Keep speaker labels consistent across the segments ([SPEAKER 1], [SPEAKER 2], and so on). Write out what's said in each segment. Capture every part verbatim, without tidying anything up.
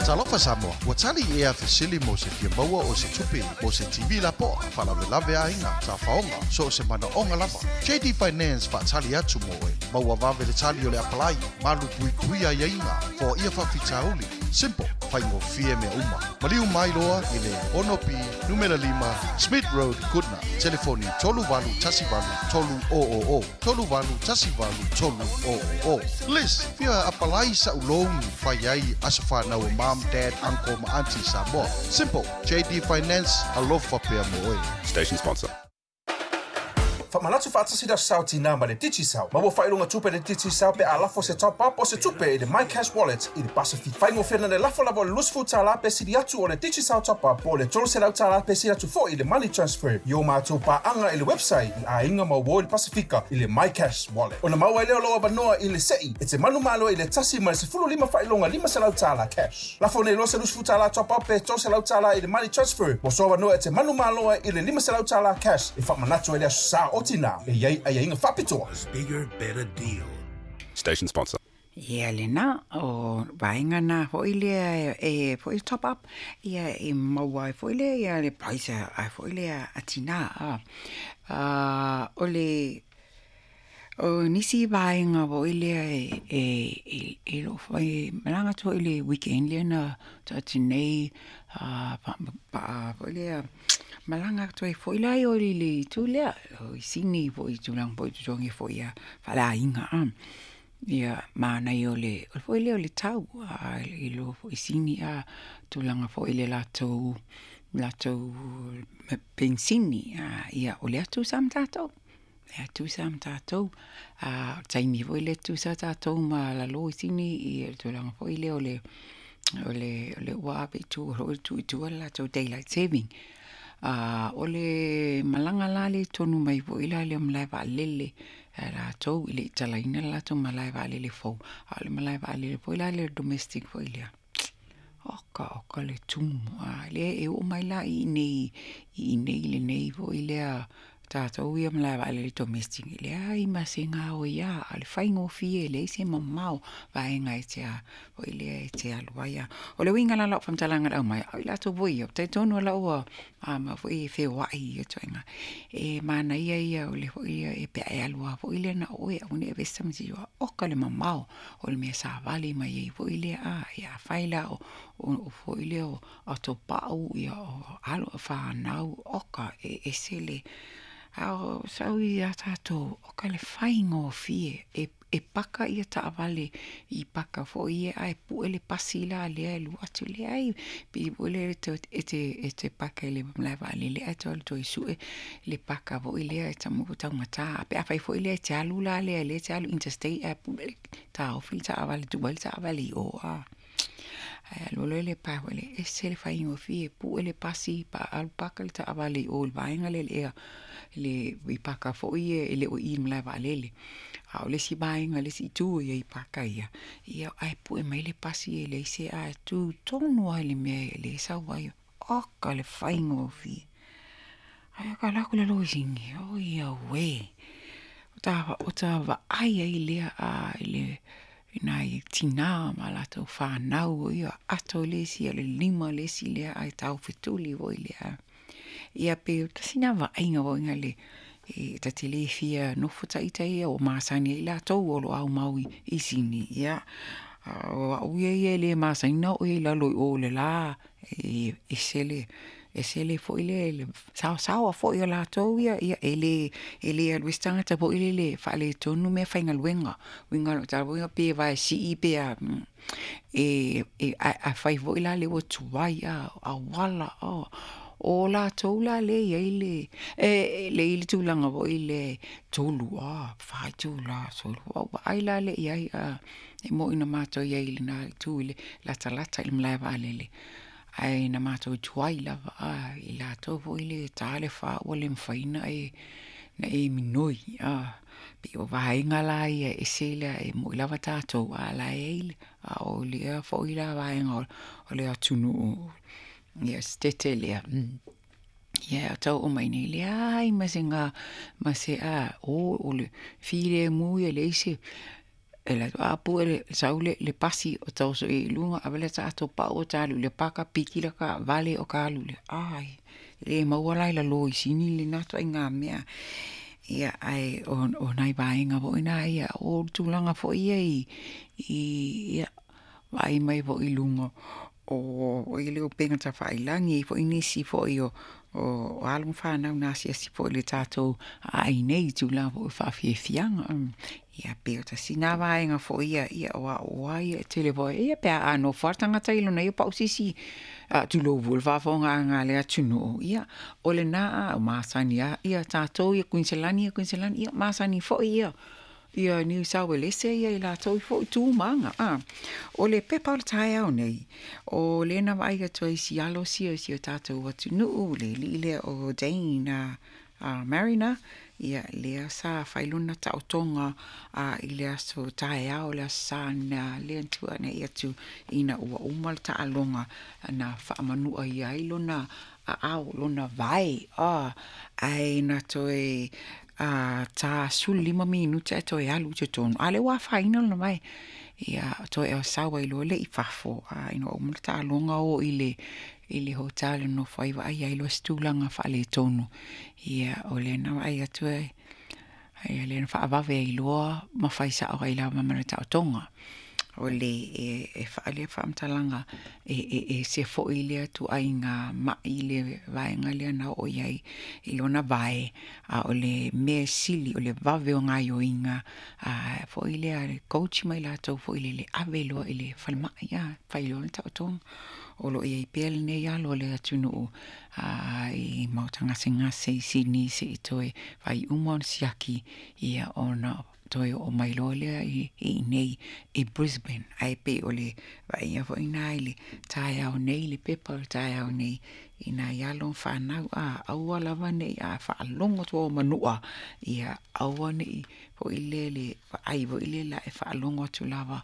[SPEAKER 1] Talofa Samoa, ua tali ea fesili mo se fia maua o se tupe mo se T V lapoa, faalavelave aiga, tafaoga, so o se manaoga lava. J D Finance faatali atu mo oe, maua vave le tali o le apalai, malu puipui aiaiga, foaia faafitauli. Simple, faigofie mea uma. Maliu mai loa i le ono P, numera lima, Smith Road, Goodna. Telefoni tolu valu tasi valu tolu o o o. Tolu valu tasi valu tolu o o o. Liz, fia apalai sa ulogi fai ai aso whanau o mom, dad, uncle ma auntie Samoa. Simple, J D Finance, alofa pea mo oe.
[SPEAKER 2] Station sponsor.
[SPEAKER 3] Whamanatu whaatasi da sao tina ma le Digicel. Maua whailunga tupe le Digicel pe a lafo se top up o se tupe i le My Cash Wallet i le Pacific. Whaingo whina le lafo lava o le lusfu tāla pe siri atu o le Digicel top up po le tolu selau tāla pe siri atu fo i le money transfer. I o mātou pāanga i le website i a inga mau i le Pasifika i le My Cash Wallet. Ona maua i leo loa vanoa i le sei e te manu malo i le tasi ma le sefulu lima whailunga lima selau tāla cash. Lafo nei lo se lusfu tāla top up pe tolu selau tāla i le money transfer. Mo soa vanoa e te manu malo i le lima selau tāla cash. E whamanatu e lea sa o tina e iai ai inga whapitoa.
[SPEAKER 4] Bigger, better deal.
[SPEAKER 2] Station sponsor.
[SPEAKER 5] Ia lena o vaenga na foi lea e foi top up ia e maua ai foi lea ia le price ai foi lea a tina a a o le o nisi vaenga foi lea e e e lo foi malanga tu i le weekend lea na ta tinei a pa pa foi lea malanga tu foi lea o le tu lea o sini foi tu lang foi tu ngi foi ia fala inga a ia mana i o le o foi lea o le tau a i lo foi sini a tulaga foi le latou latou pensini a ia o le atu sa ma tatou le atu sa ma tatou a taimi foi le atu sa tatou ma lalo i sini i le tulaga foi lea o le o le o le ua ave i tua o le tu i tua le latou daylight saving. A o le malanga la le tonu mai foi la le malae vaalele a latou i le italaina le latou malae vaalele fou a o le malae vaalele foi la le domestic foi lea oka oka le tumu a le e oo mai la i inei i inei lenei foi lea tatou ia malae vaalele domestic e leai ma se gao ia a le faigofie e leai se mamao vaega e te a foi lea e te alu ai a o le uiga la lau faamatalaga le aumai au i latou foi ia talitonu lau ua a ma foi e feoai ia toega e manaia ia o le foi ia e pe e alu a foi lea na oe aua ne i avesa ma se oka le mamao o le mea savali mai ai foi lea a ia afai la o o foi lea o atopau ia o alo whanau oka e ese le a o sau ia tatou o ka le faigofie e e paka ia taavale i paka foi ia ae pue le pasi la lea e lua atu lea ai pi foi lea e te e te paka i le malae vaalele ae toe alu toe sue le paka foi lea e tamu taugata pe afai foi lea e te alu la lea lea e te alu interstate ae pue le taofi le taavale tuu ai le taavale i o a ae alu loa le pae foi lea ese le faigofie pue le pasi pa alu paka le taavale i o i le vaega lea le ea le i paka foi ia e le o i le malae vaalele a o le isi vaega le isi itu ia i paka ia ia ae pue mai le pasi e leai se ae tu tonu ai le mea e le sau ai oka le faigofie ae ka alu atu le lo i sini o ia uē o ta o ta vaai ai lea a i le i nai tinā ma latou whanau o ia ato le isi o le lima le isi lea ae taufetuli foi lea ia pe tasi na vaaiga foi le e ta te le fia nofo taita ia o masani ai latou o lo au mau i sini ia o au ia ia le masani na o i lalo i o le la e ese le ese le foi le le saosaoa foi o latou ia ia e le e le alu ai se tagata foi lele faaletonu mea faigaluega uiga o tala foi pe vae sii pe a e e afai foi la le ua tuai a auala o o latou la le iai le e le i le tulaga foi le tolu a fa itula solo au vaai la le iai a e moi na matou iai i lena itu i le latalata i le malae vaalele ae na matou tuai lava a i latou foi le ta le fa ua le mafai ona e na e minoi a pe o vaega la ia e ese lea e moi lava tatou a la e ai le a o lea foi la vaega o le atunuu ia stete lea ia o tau o mai nei leai ma se ngā ma se a o o le filemu ia leai se E le a pu e le sau le le pasi o taoso i luga ave le tatou pau o ta alu i le paka piki le taavale o ka alu lea. Ai, e le maua la i lalo i Sini lena ituaiga mea. Ia ae o o nai vaega foi na ia o le tulaga foi ia i i ia vaai mai foi i luga o o le upega tafailagi, e i ai foi nisi foi o o alo ma fanau na asiasi foi i le tatou aai nei i tulaga foi o faafiafiaga. Ia pei o tasi na vaega foi ia, ia o au lava ia e tele foi, ia pe a nofo lava le tagata i lona ia pau se isi, tulou foi le faafofogaaga a le atunuu, ia o lena a masani lava ia tatou ia Kuiniselani ia Kuiniselani, ia masani foi ia ia Niu Sauelese ia i latou foi tu ma aga. A o le pepa o le taeao nei, o lea na vaai atu ai i si alo sia o si o tatou atunuu, le alii lea o Dane a, a Mariner, ia lea sa fai lona taotoga a, i le aso taeao, le aso Sa na lea na tuanai atu ina ua uma le taaloga na faamanu'a ia ai lona aao, lona vae, a, ae na toe a, ta sefulu lima minute ae toe alu i totonu, a o lea ua afaina lona vae. Ia, toe sau ai loa lea i fafo, a ina ua uma le taaloga o i le i le hotel e nofo ai vaai ai loa se tulaga faaletonu. Ia, o lea na vaai atu ai, ia lea na faavave ai loa ma fai sao ai lava ma le taotoga. O le e, e faaalia faamatalaga e, e, e ese foi lea ituaiga ma'i le vaega lea na oo i ai i lona vae, a o le mea e sili o le vave o gaoioiga a foi lea a le coach ma i latou foi lele ave loa i le falemai, a fai loa le taotoga. O lo o i ai pea lenei alo o le atunuu a i maota gasegase i Sini se'i toe fai uma ona siaki, ia ona toe oo mai loa lea i inei i Brisbane. Ae pei o le vaaia foi lena i le taeao nei, le pepa o le taeao nei i nai alo ma fanau, a aua lava ne i a faalogo atu ua manua, ia aua ne i foi lea le vaai foi lea la e faalogo atu lava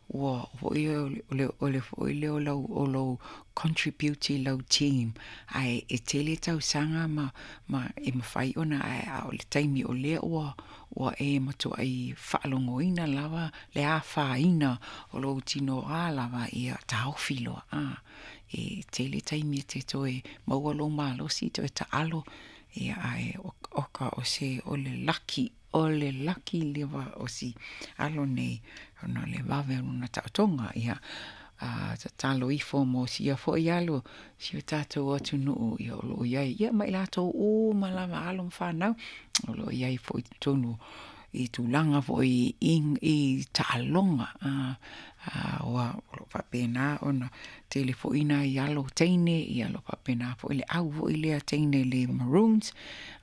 [SPEAKER 5] ua foi o le o le foi lea o lau o lou contribute i lau team ae e tele tausaga ma ma e mafai ona ae a o le taimi o lea ua ua e matuai faalogoina lava le afaina o lou tinoā lava ia taofi loa a e tele taimi e te toe maua lou malosi toe taalo ia ae oka o se o le laki o le laki leva o si alo nei ona o le vave o lona taotoga ia a tatalo ifo mo sia foi alo si o tatou atunuu ia o loo i ai ia ma i latou uma lava alo ma fanau o loo i ai foi i totonu i tulaga foi i, i taaloga a, a, ua o lo o faapena ona tele foi nai alo teine ia o lo o faapena foi le au foi lea teine le Maroons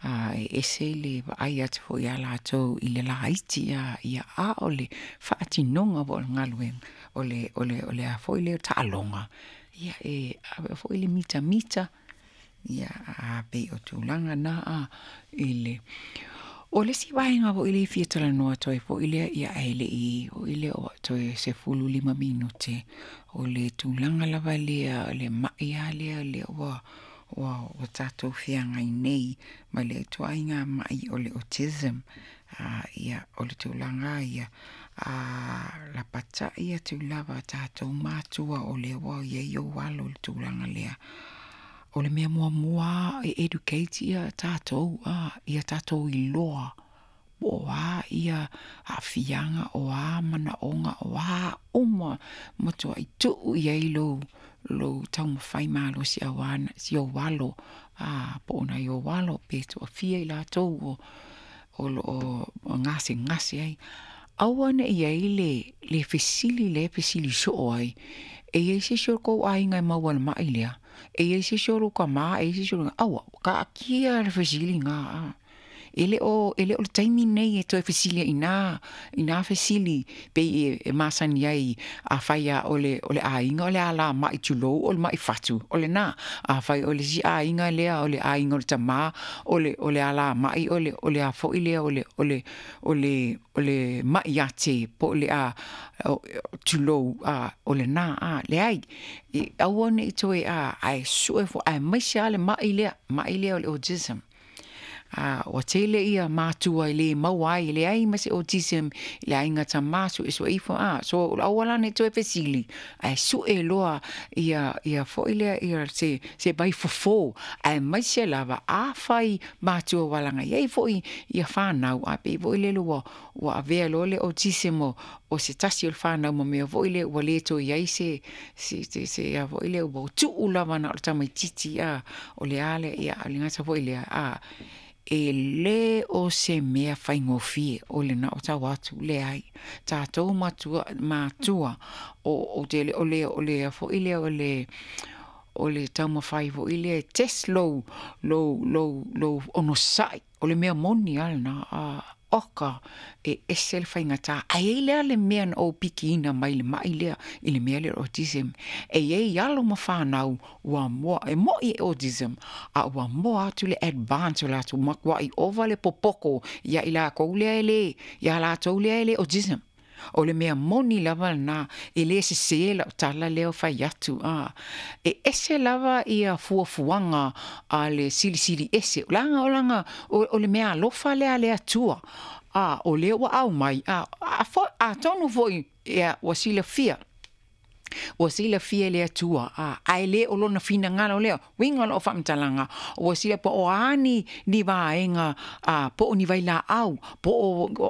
[SPEAKER 5] a e ese le vaai atu foi ia latou i le laiti a ia a o le faatinoga foi o le galuega o le o le o le a foi lea taaloga ia e ave foi le mitamita ia a pei o tulaga na a i le O le isi vaega foi lea e fia talanoa atu ai foi lea, ia ae le i foi lea o toe sefulu lima minute, o le tulaga lava lea o le ma'i lava lea lea ua ua ua tatou feagai nei ma le ituaiga ma'i o le autism. A ia o le tulaga lava ia, a lapatai atu lava tatou matua o lea ua i ai ou alo i le tulaga lea. O le mea muamua lava e educate ia tatou, a, ia tatou iloa po o a ia aafiaga, o a manaoga, o a uma matuai tuu i ai lou, lou taumafai malosi aua si ou alo, a, po o nai ou alo pe toafia i latou o, o lo o gasegase ai. Aua ne i ai le, le fesili lea e fesili soo ai, e i ai se isi o le kou aiga e maua i le ma'i lea? E i ai se isi o lou tama, e i ai se isi o lou... Aua, taatia le fesili lena, a. E le o, e le o le taimi lenei e toe fesili ai i nā, i nā fesili pei e, e masani ai afai lava o le, o le aiga o le alama'i tulou o le ma'i fatu, o lena. Afai o le isi aiga lea o le aiga o le tamā, o le, o le alama'i o le, o le a foi lea o le, o le, o le, o le ma'i ate po o le a, tulou, a, o lena, a, leai, e aua ne i toe, a, ae sue foi, aemaise lava le ma'i lea, ma'i lea o le autism. A ua tele ia matua i le maua ai le ai ma se autism i le aiga tamā suesue ifo a. So o le auala lena e toe fesili ae sue loa ia ia foi lea ia se se vaifofo aemaise lava afai matua ua laga i ai foi ia fanau ae pei foi lele ua ua avea loa le autism o o se tasi o le fanau ma mea foi lea ua le toe i ai se se se se a foi lea ua tuu lava na o le tamaitiiti a o le a lea ia o le gata foi lea a e lē o se mea faigofie o lena o tau atu leai tatou matua matua o ou te le o le o le foi lea o le o le taumafai foi lea e test lou lou lou lou onosai o le mea moni a lena a oka e ese le faigata ae i ai lea le mea na ou pikiina mai le mai lea i le mea lea o le autism e i ai alo ma fanau ua moa e mo'i e autism a ua moa atu le advance o latou matua'i ova le popoko ia i lakou lea e lē iā latou lea e le autism o le mea moni lava lena e lē sesē la'u tala lea o fai atu a e ese lava ia fuafuaga a le Silisili Ese leaga o laga o le mea alofa lea a le Atua a o lea ua aumai a atonu foi ia ua silafia ua silafia e le Atua a ae lē o lona finagalo lea uiga o la'u faamatalaga ua sila po o a ni ni vaega a po o ni vailaau po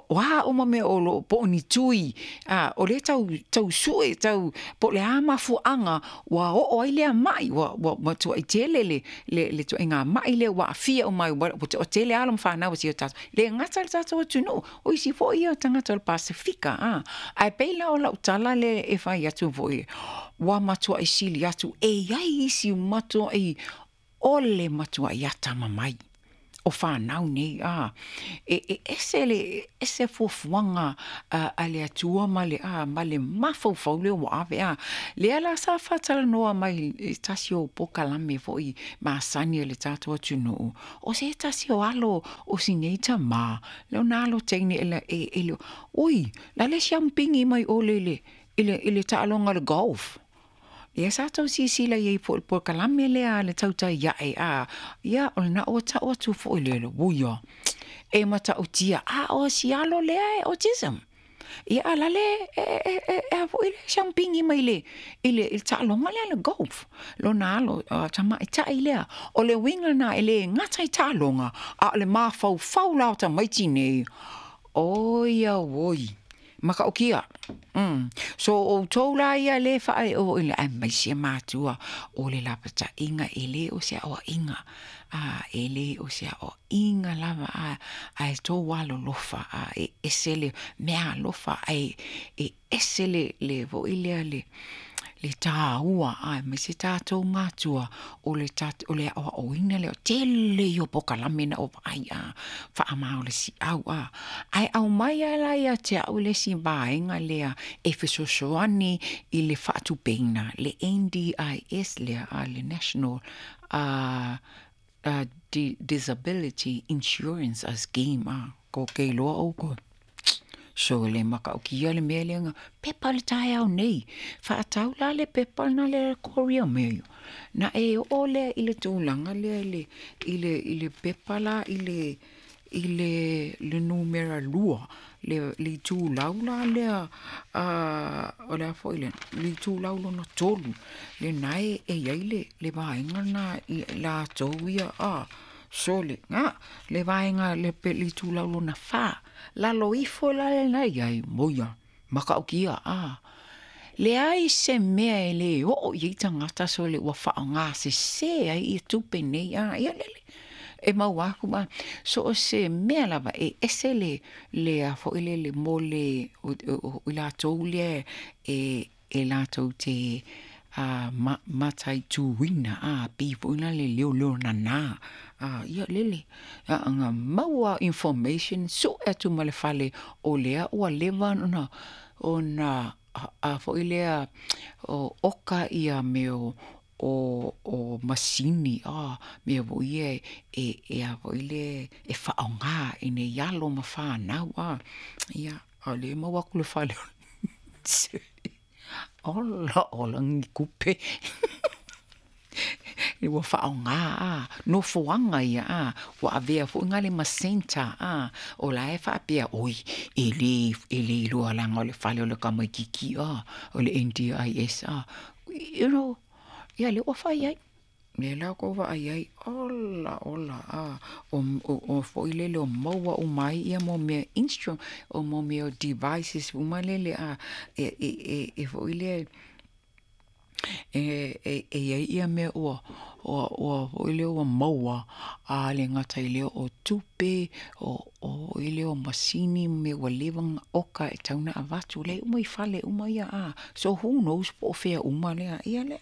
[SPEAKER 5] o a uma mea o loo po o ni tui a o lea tau tau sue tau po o le a mafuaaga ua oo ai lea mai ua ua matuai tele le le le ituaiga mai lea ua aafia uma ai ua toatele alo ma fanau a si o tatou le gata le tatou atunuu o isi foi ia tagata o le Pasefika a ae pei la o lau tala lea e fai atu foi ua matuai sili atu e i ai isi matuai o le matuai atamamai o fanau nei a e e ese le ese fuafuaga a, a le Atua ma le a ma le mafaufau lea ua ave a lea la sa faatalanoa mai i tasi o pokalame foi masani a le tatou atunuu o se tasi o alo o sinei tamā lona alo teine e, e, e le oi la le siampigi mai ole le i le i le taaloga le golf ia sa tau silasila i ai po o le polokalame lea a le tautai ae a ia o lena ua tau atu foi le le uia e matautia a o si alo lea e autism ia a la le e e e e a foi le siampigi mai le i le i le taaloga lea le golf lona alo tamaita'i lea o le uiga lena e lē gata i taaloga a o le mafaufau la o tamaiti nei oi auoi matautia mm. So outou la ia lē faaee i le aemaise matua o le lapata'iga e lē o se aoa'iga a e lē o se aoa'iga lava a ae tou alolofa a e ese le mea alofa ae e ese le le foi lea le le tāua aemaise tatou matua o le o le aoaoina lea tele ia o pokalame na ou vaai a faamā o le siau a ae aumai a la ia te au le isi vaega lea e fesoasoani i le faatupeina le N D I S lea a le National uh, uh, Disability Insurance Scheme a ko ke loa oukou So le matautia le mea lea pepa le taeao nei faatau la le pepa na le Korea Mail na e oo lea i le tulaga lea i le i le i le pepa la i le i le le numera lua le le itulau la lea a o le a foi le le itulau lona tolu lena e e i ai le le vaega lena i latou ia a sole ga le vaega le pe le itulau lona fa lalo ifo la lena i ai moia matautia a leai se mea e lē oo i ai tagata sole ua faaaogasesē ai ia tupe nei a ia lele e maua aku ma so o se mea lava e ese le le a foi le le mo le o, o, o i latou lea e e latou te a ma, mataituina a pei foi la le leoleo nanā a ia lele a anga maua information sue atu ma le fale o lea ua leva ona ona a foi lea o oka ia mea o o o masini a mea foi ia e e a foi le e faaaoga i nei alo ma fanau a ia a le maua atu le fale ola ola ni kupe Ua faaaogā a nofoaga ia a ua avea foʻi gale ma centre a o la e faapea oi e lē e lē iloa laga o le fale o le tamaititi a o le N D I S a you know ia lea ua fai ai lea la kou vaai ai ola ola a o o foi lele o maua uma ai ia mo mea instrument o mo mea devices uma lele a e e e e foi lea e e e iai ia mea ua ua ua foi lea ua maua a le gata i lea o tupe o o i lea o masini ma mea ua leva ona oka e tatau ona avatu la e uma i fale uma ia a so who knows po o fea uma lea ia lea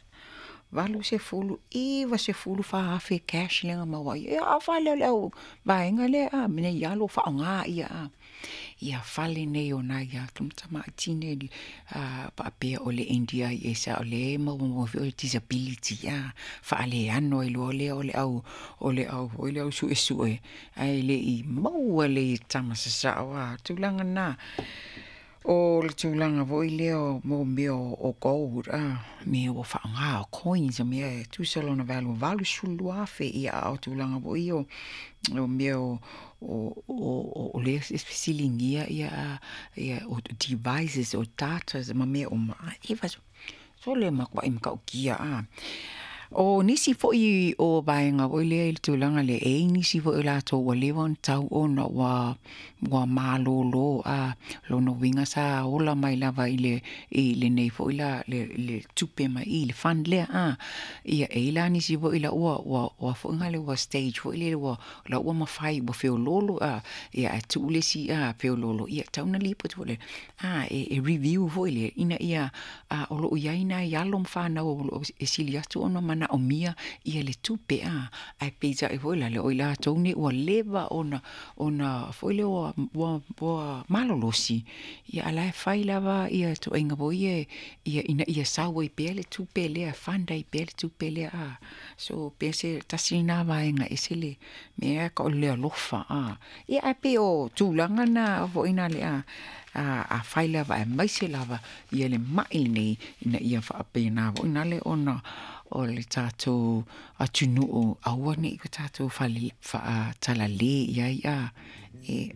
[SPEAKER 5] valu sefulu iva sefulu fa afe cash lea na maua ai ia a fale o le au vaega lea a nei alo faaaogā ia a ia fale nei o nai a tamaiti a faapea o le N D I S a o lea e maua foi o le disability a faaleano ai loa lea o le au o le au foi lea au suesue ae le i maua lelei e tama sasao a tulaga na o le tulaga foi lea o mo mea o gold a mea ua faaaogā o coins o mea e tusa lona value valu sefulu lua afe ia a o tulaga foi ia o o mea o o o o lea e fesiligia ia ia o devices o datas ma mea uma iva sole matuai matautia a o nisi foi o vaega foi lea i le tulaga lea e i ai nisi foi o latou ua leva ona tau ona ua ua malōlō a lona uiga sa ola mai lava i le i lenei foi la le le tupe mai i le fund lea a ia e i la nisi foi la ua ua ua foi gale ua stage foi lele ua la ua mafai ua feololo a ia ae tuu le isi a feololo ia tatau ona lipoti foi lea a e, e review foi lea ina ia a o loo iai nai alo ma fanau o loo e sili atu ona manaomia ia le tupe a ae peitai foi la le o i latou nei ua leva ona ona foi lea ua ua ua malolosi ia a la e fai lava ia ituaiga foi ia ia ina ia sau ai pea le tupe lea fund ai pea le tupe lea a so pe se tasi lena vaega ese le mea ka o le alofa a ia ae pei o tulaga na foi na le a a afai lava aemaise lava ia le mai lenei ina ia faapena foi na le ona o le tatou atunuu aua nei o tatou fale faatalale i ai a e.